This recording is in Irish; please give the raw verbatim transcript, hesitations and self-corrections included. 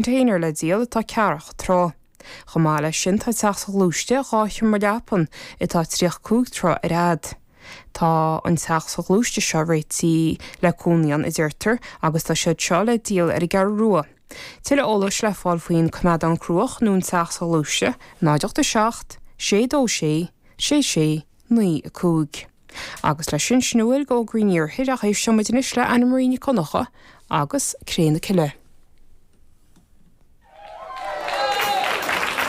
Container le díol atá ceathracha troigh. Chomh maith leis sin tá teach sa ghluaiste dhá sheomra leapan atá tríocha cúig troigh ar fhad. Tá an teach sa ghluaiste seo réitithe le cónaí ann a deirtear agus tá siad seo le díol ar an gCeathrú Rua. Tuilleadh eolais le fáil faoin coimeádán cruach nó an teach sa ghluaiste, náid ocht a seacht, sé dó sé, sé sé, naoi a cúig. Agus leis sin sin a bhfuil d'fhógraí an iarthair ach éisteoidh muid anois le Anna Marie Nic Dhonncha agus Cré na Cille.